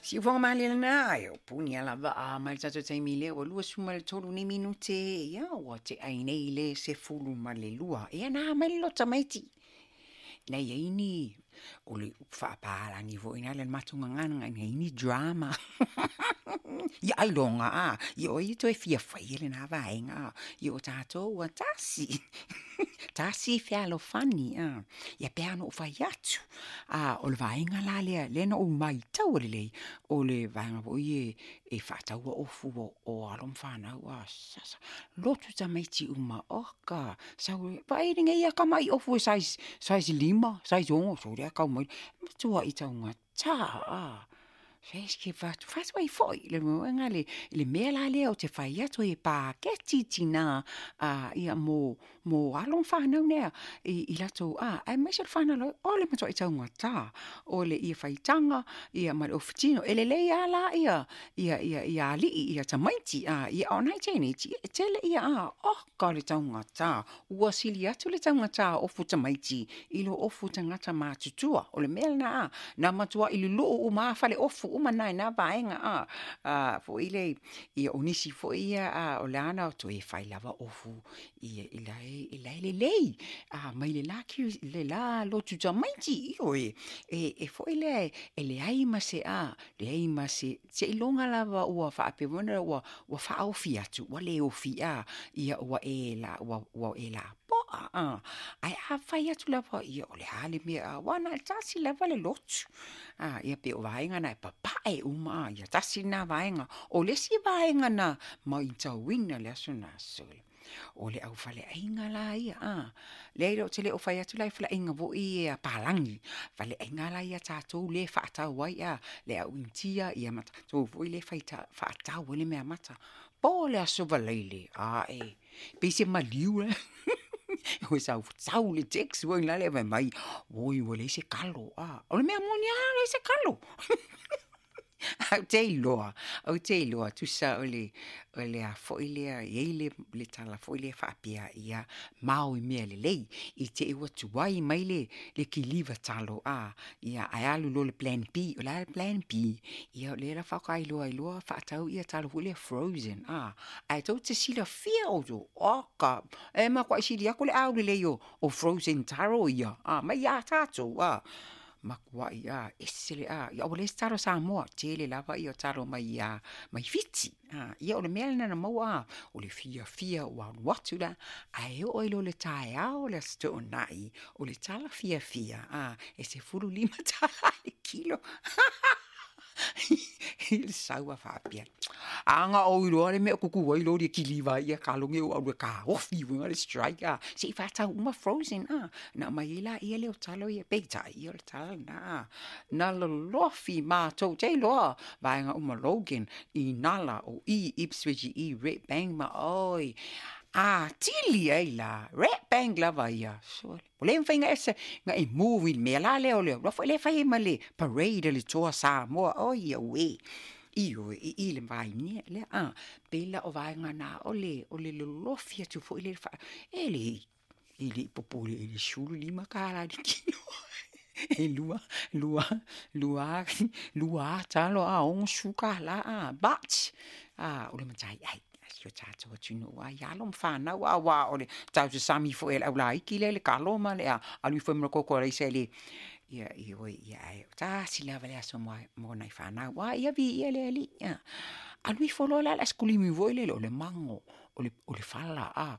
Siufoga malie lena, e o puni lava a mai le tatou taimi lea ua 23 nei minute, ia ua tea ai nei le 12. Ia na mai le loto tamaiti. Na i ai ni, o le upu faapalagi foi lena i le matou gagana, na i ai ni drama. Ia ailoga a, ia o ai e toe fia faia lena vaega a, ia o tatou ua tasi, tasi fealofani a. Ia pei lava ona ou fai atu, o le vaega la lea, lea na ou maitaua lelei, o le vaega foi ia e faataua ofu o alo ma fanau a, sasa, lotu tamaiti uma, oka, sau e vaai lenei lava tamai ofu e size 5, size 6, sole a tau mai, matuai taugata a. Se fai atu ai foi le mea la lea ou te fai atu ai e paketi tina ia mo alo ma fanau nei i latou aemaise o le fanau o le matuai taugata o le ia faitaga ia ma le ofu tino. E lelei lava la ia alii ia tamaiti a o nai teineiti e tele ia oka le taugata, ua sili atu le taugata o ofu tamaiti i lo ofu tagata matutua. O le mea lena, na matuai luluu uma lava faleofu uma na i na vaega foi lea, ia o nisi foi ia o la na toe fai lava ofu i la e lelei mai le la lotu tamaiti, ioe, e foi lea e leai ma se leai ma se, seiloga lava ua faapea foi lea ua faaofi atu ua le ofi ia ua e lapoa. Ae a fai atu lava, ia o le a le mea, aua na o le tasi lava le lotu. Ia pei o vaega na e papae uma, ia tasi lena vaega. O le isi vaega na matauina i le aso lena, sole, o le aufaleaiga la ia, leai ou te le o fai atu la i faleaiga foi ia a palagi, faleaiga la ia a tatou lea e faatau ai le au Initia ma tatou foi lea e faatau ai le meamata. Po le Aso Faraile, ae pei se maliu la e sau sau le text foi lale fai mai, oi ua leai se kalo. O le mea moni lava, leai se kalo. Ae ou te iloa, tusa o le a foi lea, e i ai le tala foi lea faapea, ia mao i mea lelei, i te i ua tuai mai le kiliva talo, ia ae alu loa i le plan B. O le a le plan B? Ia o lea faatoa iloa ai loa faatau ia talo foi lea frozen, ae tou te silafia outou, oka, e matuai sili atu le aulelei o frozen taro ia, mai ia tatou, matuai ese le ia ua leai se talo Samoa, tele lava ia talo mai mai Fiti. Ia o le mea lena na maua, o le fiafia ua alu atu la, ae oo ai loa i le taeao o le Aso Toonai, o le tala fiafia, e $15 le kilo. I le sau a faapea, a na ou iloa le mea o tutu ai loli e kiliva ai ia talo nei ua ou alu e taofi le strike se i faatau uma frozen na aumai ai laia lea o talo ia, peitai ia o le tala lena. Na lolofi matou te iloa vaega uma Logan, Inala, o i Ipswich i Redbank ma oi atili ai la Redbank lava ia. Sole, ua le mafai ona ese na e move i le mea la lea o le foi lea fai ai ma le parade a le Toa Samoa, oi auē, ioe, i i le vaimea lea pei la o vaega na o le lolofi atu foi lea e le i popole i le $15 le kilo. E lua talo a $60 but o le mataiai a si o tatou atunuu i alo ma fanau, aua o le tausasami foi a le aulaiti lea le talo ma le alu ifo ai ma le toto alaisa i le ia ioe, ia ae tasi lava le aso mo nai fanau, ia viia le Alii. Alu ifo loa la le aisakulisi foi lele, o le mago, o le fala,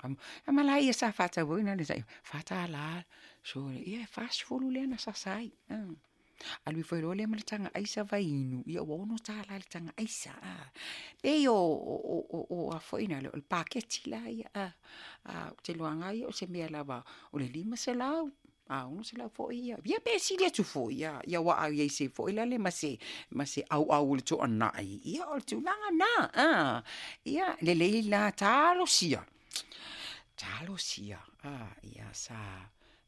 ma la ia sa faatauina le $4, sole, ia e 40 lea na sasa ai. Alu ifo loa lea ma le taga aisa vaiinu, ia ua $6 le taga aisa. Pei o a foi na o le paketi la ia, ou te iloaina ia o se mea lava o le 500, 600 foi ia, ia pe sili atu foi ia, ia aua a i ai se foi lale ma se auau o le toanai, ia o le tulaga na, ia lelei la talosia, talosia, ia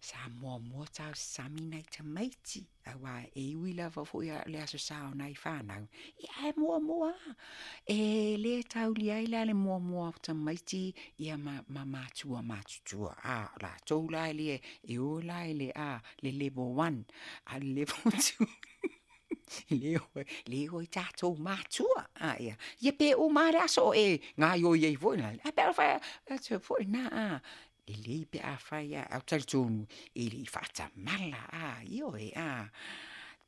sa muamua tausasami nai tamaiti, aua e ui lava foi le aso sa o nai fanau, ia ae muamua, e le taulia ai la le muamua o tamaiti ia ma matua matutua, o latou la e le, e o la i le le level 1, a le level 2. Le o le o i tatou matua. A, ia, ia pe uma le aso o e gaioi ai foi la. A pe a fai atu foi na a. Lelei pe a fai a au talitonu e le i faatamala a ioe a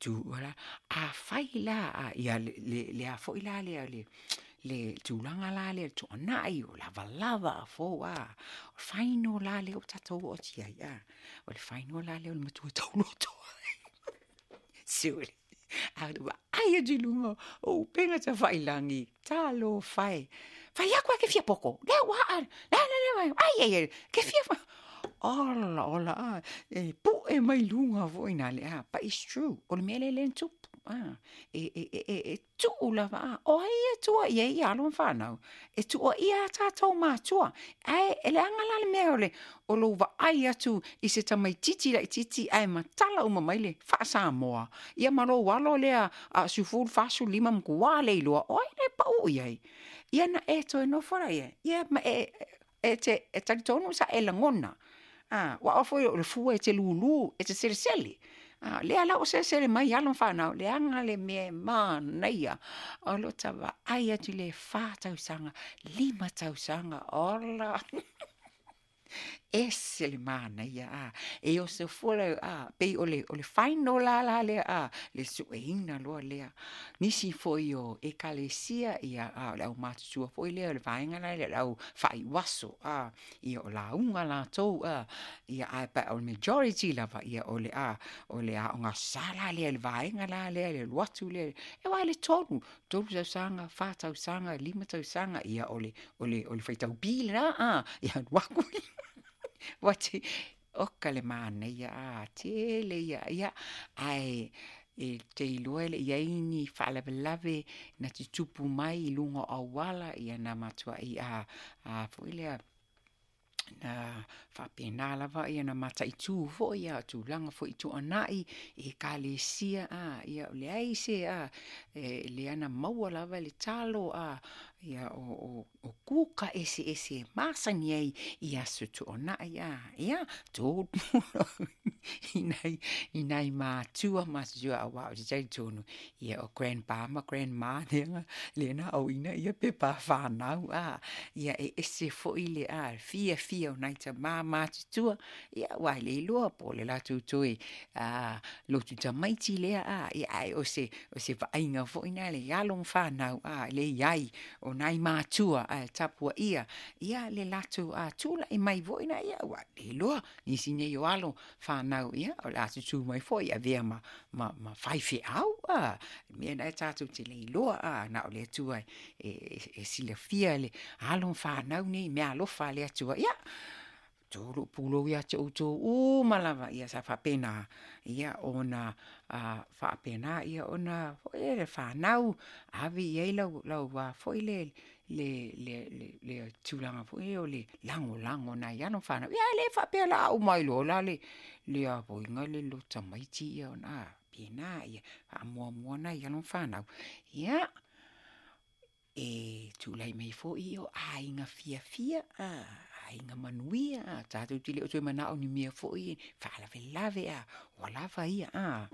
tu la a fai la a ia le le le a foi la lea le le tulaga la lea le tuanai o lavalava a fou a o le faino la lea ua tatou oo atu i ai a o le faino la lea o le matua tauloto. Sure. A vaai atu i luga o upega tafailagi, talofa e. Fai aku a ke fia poko. Lea ua aa. La la la. Ai ai ai. Ke fia fa. Ola ola a. E pu'e mai luga foi na le a. But it's true. O le mea lea lea na tupu. A. E, e, e, e, e tuu lava a. O ai e tua i ai i alo ma whanau. E tua ia a tātou mātua. Ae, e leaga la le mea o le, o lou vaai atu i se tamaititi laititi ae matala uma mai le faa-Samoa. Ia ma lou alo lea a 10, 45 matua le iloa, o ai la e pau i ai? Ia na e toe nofo la ia, ia ma e, e te e talitonu sa e lagona. A, ua oa foi o le fua e te lūlū, e te selesele. A, lea la ua selesele mai alo ma whanau, leaga le mea e mānaia. O lo ta vaai atu i le 4 tausaga, 5 tausaga, ola. Ese le mānaia, a. E oso fua la, a, pei o le, o le final la la lea, a, le sueina loa lea. Nisi foi o ekalesia, ia, a, o le aumatutua foi lea, o le vaega la lea, o le au faaiuaso, a, ia o lauga latou, a, ia, ae pa o le majority lava, ia, o le, a, o le aoga sa la lea, le vaega la lea, le alu atu lea, e wā le tolu, 3 tausaga, 4 tausaga, 5 tausaga, ia o le, o le, o le faitau pi lena, a, ia alu aku. Ua te, oka le mānaia, a, tele ia, ia, ae, e te iloa e le i ai ni faalavelave na tutupu mai i luga o auala, ia na matuai, a, a foi lea, na faapena lava ia na mataitū foi a tulaga foi tuanai i ekalesia a ia o leai se a e lea na maua lava le talo a ia o o o kuka eseese e masani ai i aso tuanai a ia tolu i nai i nai matua matutua auā o te talitonu ia o grandpa ma grandma lea lea na aoina ia pepa whanau a ia e ese foi le a fiafia o nai tamā matutua ia ua le iloa po o le latou toe a lotu tamaiti lea a ia ae o se o se vaaiga foi na le alo ma whanau a le iai o nai matua a tapuaia ia le latou a tula'i mai foi na ia ua le iloa nisi nei o alo whanau ia o le a tutū mai foi avea ma ma ma faifeau a mea na e tātou te le iloa a na o le Atua e e e silafia le alo ma whanau nei mea alofa a le Atua ia tolu pulou ia te outou uma lava ia sa faapena ia ona a faapena ia ona foi le whanau ave i ai lau lau a foi le le le le le tulaga foi o le lagolago nai alo ma whanau ia le faapea la a uma ai loa la le le a foi le lo tamaiti ia ona a pena ia faamuamua nai alo ma whanau ia e tulai mai foi o aiga fiafia a aiga manuia a tatou te le o toe manao ni mea foi faalavelave a ua lava ia a.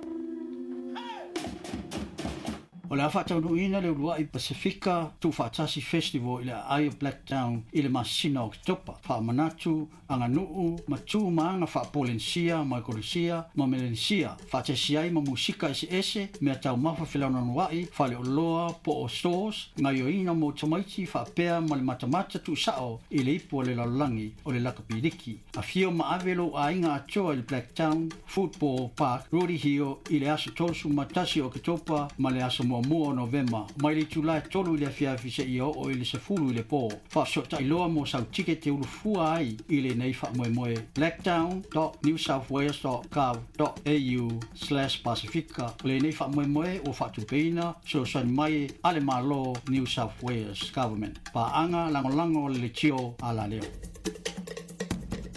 O le a faataunuuina le uluai Pasefika Tuufaatasi Festival i le aai o Blacktown i le masina o Oketopa. Faamanatu, aganuu ma tu ma aga faa-Polenisia, Maikolesia ma Melenesia, faatasi ai ma musika eseese, mea taumafa felaunanua'i, faleoloa po o stores, gaioiga mo tamaiti faapea ma le matamata tuusa'o i le ipu a le lalolagi o le lakapi liki. Afio ma ave lou aiga atoa i le Blacktown Football Park, Rooty Hill i le aso 31 o Oketopa ma le aso 1 o Novema, mai le itula e 3 i le afiafi seia oo i le 10 i le po. Faafesootai loa mo sau tikete ulufua ai i lenei faamoemoe blacktown.newsouthwales.gov.au/pasifika. O lenei faamoemoe ua faatupeina fesoasoani mai a le Malo New South Wales Government. Paaga lagolago a le Leitio Alaleo.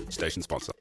Station sponsor.